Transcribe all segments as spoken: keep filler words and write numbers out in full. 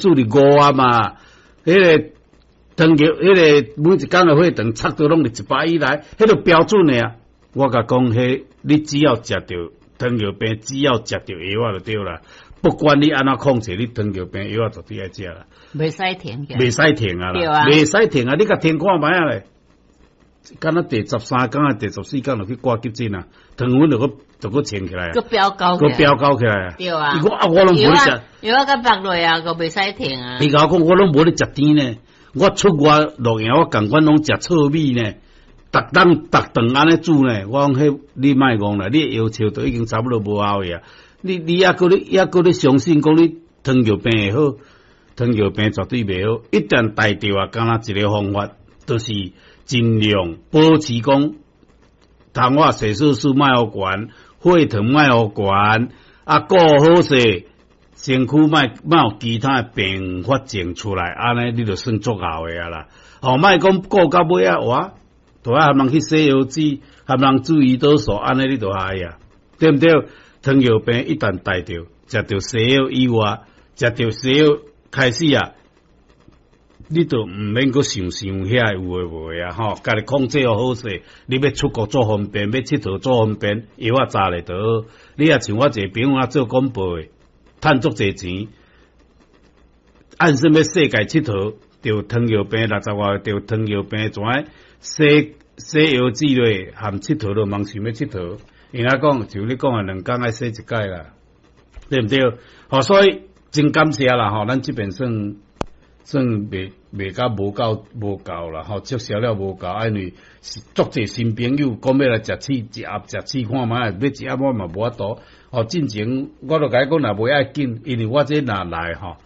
注伫五啊嘛，彼个糖尿，彼个每一工的血糖測到攏佇一百以內，彼個標準的啊。我共講，彼你只要食著糖尿病，只要食著藥仔就對啦。不管你按怎控制，你糖尿病藥仔絕對愛食啦。袂使停，袂使停啊啦，袂使停啊！你共停看覓仔咧？敢若第十三工啊，第十四工就去掛急診啊，糖分就閣就閣升起來啊，閣飆高，閣飆高起來啊！對啊，伊講啊，我攏無咧食，藥仔閣放落啊，閣袂使停啊！伊共我講，我攏無咧食甜呢，我出外露營，我仝款攏食糙米呢，逐頓逐頓按呢煮呢。我講彼你莫戇啦，你的藥笑都已經差不多無效去啊！你你猶閣咧猶閣咧相信講你糖尿病會好，糖尿病絕對袂好。一旦帶著啊，敢若一个方法，就是盡量保持講，糖化血色素莫予懸，血糖莫予懸，啊，顧好勢，身軀莫莫有其他的併發症出來，按呢你就算足夠的啊啦。吼，莫講顧到尾啊，哇，都愛含人去洗腰子，含人注胰島素，按呢你就害啊，對毋對？糖尿病一旦帶著，食著西藥以外，食著西藥開始啊，你就毋免閣想想遐有的無的啊，吼，家己控制好勢，你欲出國做方便，欲𨑨迌做方便，藥仔紮咧就好。你若像我一個朋友啊做廣播的，趁足濟錢，按算欲世界𨑨迌，著糖尿病六十外，著糖尿病怎洗洗腰子咧，含𨑨迌都茫想欲𨑨迌。伊若講就你講的兩工愛洗一擺啦，對毋對？吼，所以真感謝啦，吼，咱這邊算算袂袂甲無夠無夠啦，吼，促銷了無夠，因為是足濟新朋友講欲來食試一盒食試看覓，買一盒我嘛無法度。吼，進前我都共伊講若袂愛緊，因為我這若來吼，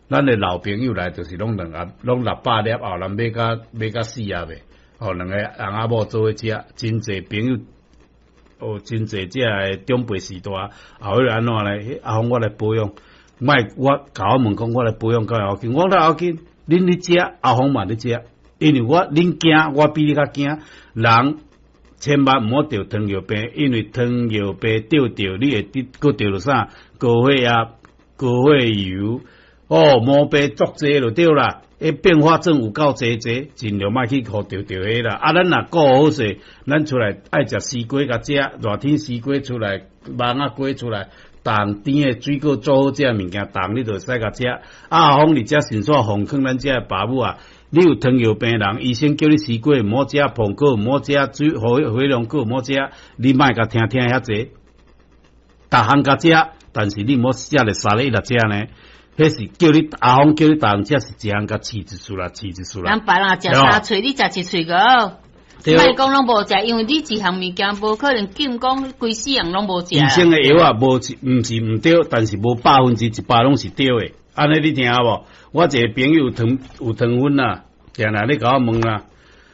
咱的老朋友來就是攏兩盒，攏六百粒後人買甲買甲四盒的，吼，兩個翁仔某做伙食，真濟朋友。哦，真濟這个長輩時代，後尾按怎咧？阿峰我來保養，莫我共我問講，我來保養較要緊，我較要緊。恁咧食，阿峰嘛咧食，因為我恁驚，我比你較驚。人千萬毋好著糖尿病，因為糖尿病著著，你會得閣著著啥？高血壓、高血油，哦，毛病足濟就對啦。彼併發症有夠濟濟，盡量莫去予著著彼啦。啊，咱若顧好勢，咱出來愛食西瓜共食，熱天西瓜出來，網仔瓜出來，凍甜的水果做好食物件，凍你就會使共食。啊，阿峰佇遮順紲奉勸咱遮的爸母啊，你有糖尿病人，醫生叫你西瓜毋好食，蘋果毋好食，水火火龍果毋好食，你莫共聽聽遐濟，逐項共食，但是你毋好食咧三日一日食呢。彼是叫你阿峰叫你逐項食，是一項共試一次啦，試一次啦。人別人食三喙，你食一喙個。莫講攏無食，因為你一項物件無可能禁講規世人攏無食。醫生的藥啊，無是毋是毋對，但是無百分之一百攏是對的。按呢你聽無？我一個朋友糖有糖分啊，定定咧共我問啊。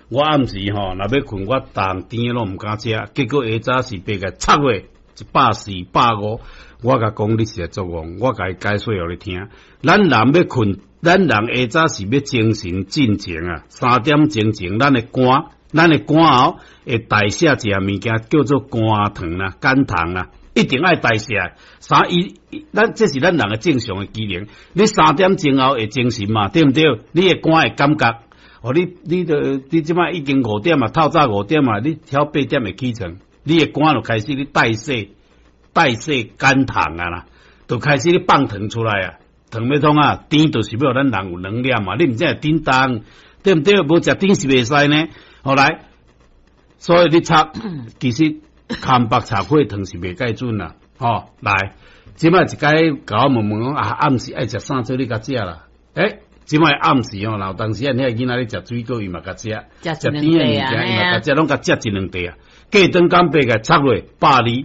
我暗時吼，若欲睏，我逐項甜的攏毋敢食，結果下早時爬起來插落一百四、百五。我共講你是會作戇，我共伊解說予你聽。咱人欲睏，咱人下早時欲精神進前啊，三點鐘前，咱的肝，咱的肝喉會代謝一項物件叫做肝糖啦、肝糖啦，一定愛代謝。三伊，咱這是咱人的正常的機能。你三點鐘後會精神嘛，對毋對？你的肝會感覺，哦，你你著你這擺已經五點啊，透早五點啊，你曉八點會起床，你的肝就開始咧代謝。代謝肝糖啊啦，就開始咧放糖出來啊，糖欲創啊，甜就是欲予咱人有能量嘛，你毋知會振動，對毋對？無食甜是袂使呢。後來，所以你測，其實空腹測血糖是袂蓋準啦。吼，來，這擺一擺共我問問講啊，暗時愛食啥做你共食啦？欸，這擺暗時吼，有當時啊，遐囡仔咧食水果，伊嘛共食，食甜的物件，伊嘛共食，攏共食一兩塊啊。過轉工爬起來測落百二。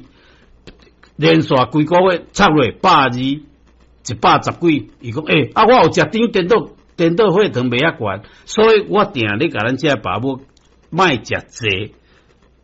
連續幾個月測落百二，一百十幾，伊講欸，啊，我有食甜，顛倒顛倒血糖袂遐懸，所以我定咧共咱遮爸母莫食濟，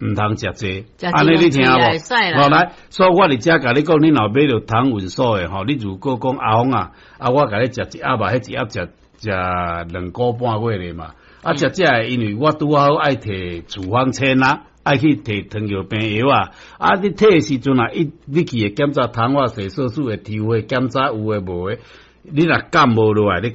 毋通食濟，按呢你聽無？好來，所以我佇遮共你講，你若買著糖穩素的吼，你如果講阿峰啊，啊我共你食一盒啊，彼一盒食食兩個半月咧嘛，啊食這个，因為我拄好愛提處方箋啊。愛去提糖尿病藥啊！啊，你提的時陣啊，伊你去會檢查糖化血色素會抽血檢查有的無的，你若減無落來，你